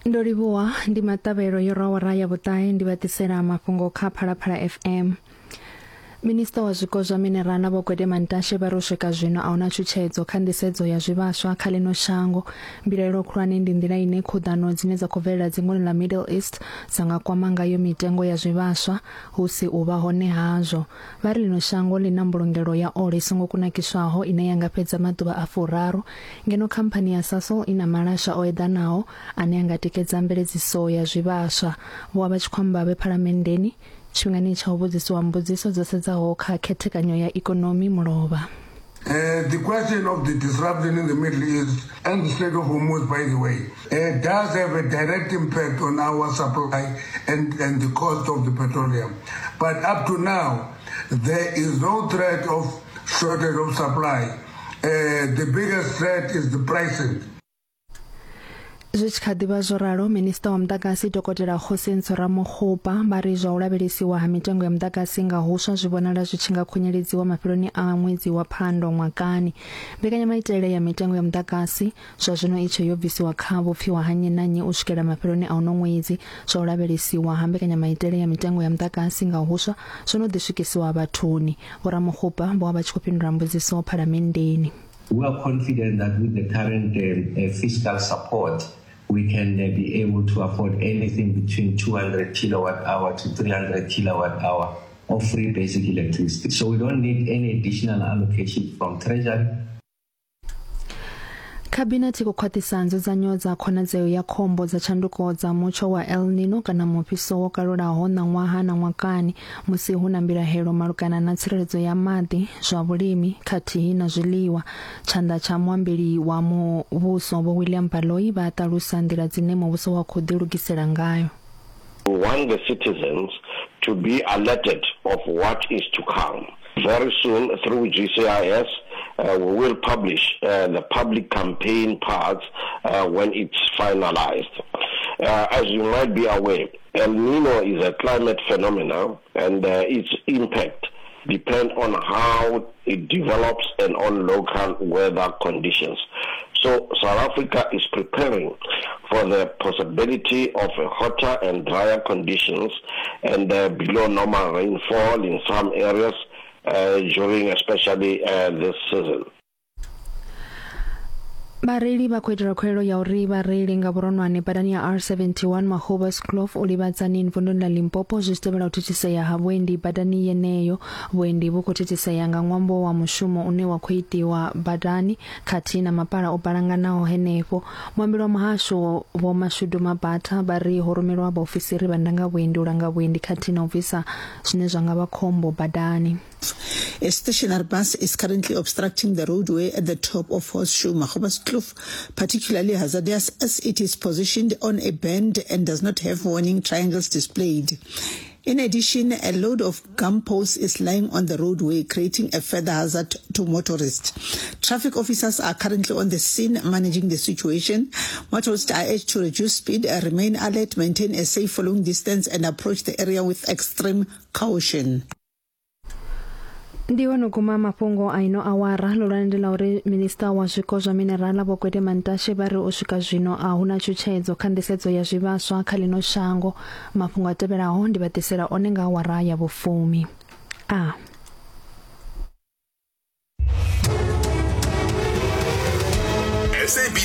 Ndo livhuwa ndi maṱavhelo yo rwa awara ya vhuṱahe ndi vha ḓisela mafhungo kha Phalaphala FM. Minisiṱa wa zwiko zwa minerala Vho Gwede Mantashe vha ri u swika zwino a huna tshutshedzo kha nḓisedzo ya zwivhaswa kha ḽino shango. Mbilaelo khulwane ndi nḓila ine khuḓano dzine dza khou bvelela dzingoni ḽa Middle East dza nga kwama ngayo mitengo ya zwivhaswa hu si u vha hone hazwo. Vha ri ḽino shango ḽi na mbulungelo ya ole i songo kunakiswaho ine ya nga fhedza maḓuvha a furaru ngeno khamphani ya Sasol i na malasha o eḓanaho ane a nga tikedza mveledziso ya zwivhaswa. Vho vha vha tshi khou amba vhe Phalamenndeni tshifhingani tsha u vhudzisiwa mbudziso dzo sedzaho kha khethekanyo ya ikonomi mulovha. Uh, the question of the disruption in the Middle East and the Strait of Hormuz, by the way, uh, does have a direct impact on our supply and, and the cost of the petroleum. But up to now, there is no threat of shortage of supply. Uh, the biggest threat is the pricing. Zwi tshi kha ḓi vha zwo ralo, Minisiṱa wa Muḓagasi Dokotela Kgosientsho Ramokgopa vha ri zwa u lavhelesiwa ha mitengo ya muḓagasi nga huswa zwi vhonala zwi tshi nga khunyeledziwa mafheloni a ṅwedzi wa Phando ṅwakani. Mbekanyamaitele ya mitengo ya muḓagasi zwa zwino i tshe yo bvisiwa kha vhupfiwa ha nnyi na nnyi u swikela mafheloni a uno ṅwedzi. Zwa u lavhelesiwa ha mbekanyamaitele ya mitengo ya muḓagasi nga huswa zwo no ḓi swikisiwa vhathuni. Vho Ramokgopa vho vha vha tshi khou fhindula mbudziso Phalamenndeni. We are confident that with the current uh, fiscal support, we can uh, be able to afford anything between 200 kilowatt hour to 300 kilowatt hour of free basic electricity. So we don't need any additional allocation from Treasury. Khabinethe i khou khwaṱhisa nzudzanyo dza khonadzeo ya khombo dza tshanduko dza mutsho wa El Nino kana mufhiso wo kalulaho ṋaṅwaha na ṅwakani musi hu na mbilahelo malugana na tsireledzo ya maḓi, zwa vhulimi khathihi na zwiḽiwa. Tshanḓa tsha muambeli wa muvhuso Vho William Baloyi vha ṱalusa nḓila dzine muvhuso wa khou ḓilugisela ngayo. We want the citizens to be alerted of what is to come. Very soon through GCIS uh, we will publish uh, the public campaign parts uh, when it's finalized. Uh, as you might be aware, El Nino is a climate phenomenon and uh, its impact depend on how it develops and on local weather conditions. So South Africa is preparing for the possibility of hotter and drier conditions and uh, below normal rainfall in some areas uh, during especially uh, this season. Vhareili vha khou itela khuwelelo ya uri vhareili nga vhuronwane badani ya R71 Magoebaskloof u livha Tzaneen vunduni ḽa Limpopo zwi tshi tevhela u thithisea ha vhuendi badani yeneyo. Vhuendi vhu khou thithisea nga ṅwambo wa mushumo une wa khou itiwa badani khathihi na mapala o balanganaho henefho. Muambeli wa muhasho Vho Mashudu Mabatha vha ri ho rumelwa vhaofisiri vha ndangavhuendi u langa vhuendi khathihi na u bvisa zwine zwa nga vha khombo badani. A stationary bus is currently obstructing the roadway at the top of Horseshoe Magoebaskloof, particularly hazardous as it is positioned on a bend and does not have warning triangles displayed. In addition, a load of gum posts is lying on the roadway, creating a further hazard to motorists. Traffic officers are currently on the scene managing the situation. Motorists are urged to reduce speed, remain alert, maintain a safe following distance, and approach the area with extreme caution. Ndi hone u guma mafhungo a ino awara. Ḽihulwane ndi ḽa uri minisiṱa wa zwiko zwa minerala Vho Gwede Mantashe vha ri u swika zwino a hu na tshutshedzo kha nḓisedzo ya zwivhaswa kha ḽino shango. Mafhungo a tevhelaho ndi vha ḓisela one nga awara ya vhufumi. A. SABC.